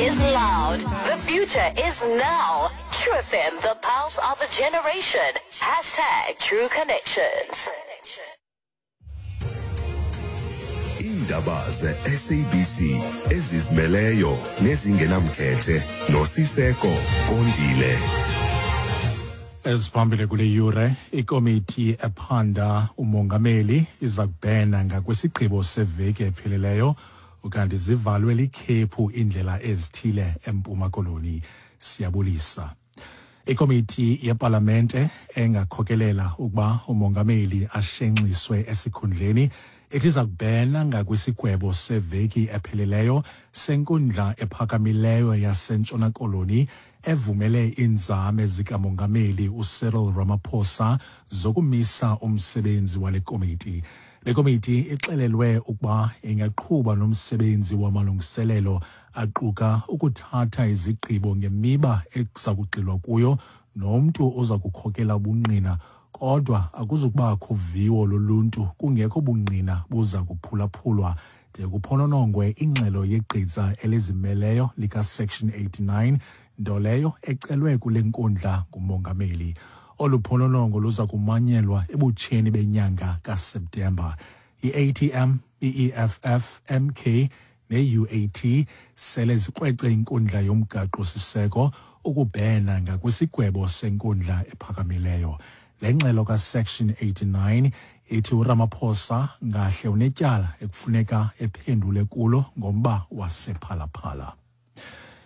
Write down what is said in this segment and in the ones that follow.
is loud. The future is now. True FM, the pulse of a generation. Hashtag True Connections. Iindaba ze-SABC ezizimeleyo nezingenamkhethe noSiseko Kondile. Eziphambili kule yure, ikomiti ephanda umongameli iza kubhena ngakwisigqibo seveki ephelileyo, ukanti zivalwe likhephu iindlela ezithile eMpuma Koloni. Siyabulisa. Ikomiti yepalamente engakhokelela ukuba umongameli ashenxiswe esikhundleni ithi iza kubhena ngakwisigwebo seveki ephelileyo senkundla ephakamileyo yaseNtshona Koloni evumele iinzame zikamongameli uCyril Ramaphosa zokumisa umsebenzi wale komiti. Le komiti ixelelwe ukuba ingaqhuba nomsebenzi wamalungiselelo aquka ukuthatha izigqibo ngemiba ekuza kugxilwa kuyo nomntu oza kukhokela ubungqina, kodwa akuzukubakho viwo loluntu kungekho bungqina buza kuphulaphulwa de kuphononongwe ingxelo yegqiza elizimeleyo likaSection 89, nto leyo ecelwe kule nkundla ngumongameli. Olu phononongo luza kumanyelwa ebutsheni benyanga kaSeptemba. I-ATM, i-EFF, MK ne-UAT sele zikrwece inkundla yomgaqo-siseko ukubhena ngakwisigwebo senkundla ephakamileyo. Le ngxelo kaSection 89 ithi uRamaphosa ngahle unetyala ekufuneka ephendule kulo ngomba wasePhalaphala.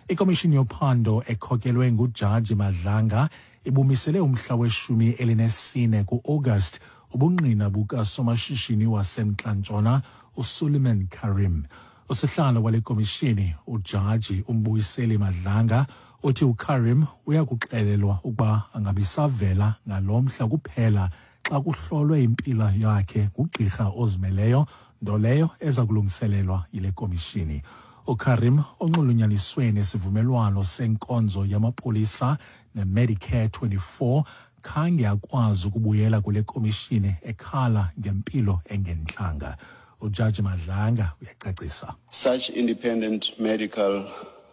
Ikomishini yophando ekhokelwe nguJaji Madlanga ibumisele umhla we-14 ku-August ubungqina bukasomashishini waseMntla-Ntshona uSuleiman Karim. Usihlalo wale komishini, uJaji uMbuyiseli Madlanga, uthi uKarim uyakuxelelwa ukuba angabisavela ngalo mhla kuphela xa kuhlolwe impilo yakhe ngugqirha ozimeleyo, nto leyo eza kulungiselelwa yile komishini. UKarim, onxulunyaniswe nesivumelwano senkonzo yamapolisa neMedicare 24, khange akwazi ukubuyela kule komishini ekhala ngempilo engentlanga. UJaji Madlanga uyacacisa. Such independent medical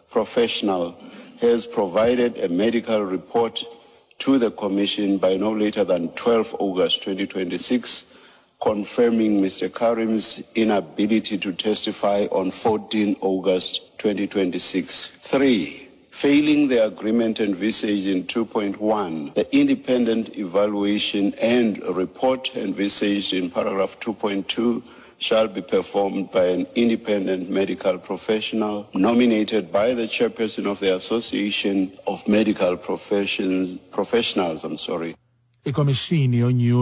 professional has provided a medical report to the Commission by no later than 12 August 2026, confirming Mr. Karim's inability to testify on 14 August 2026. 3, failing the agreement envisaged in 2.1, the independent evaluation and report envisaged in paragraph 2.2 shall be performed by an independent medical professional nominated by the chairperson of the Association of Medical Professions, Professionals. I'm sorry. Ikomishini yonyulo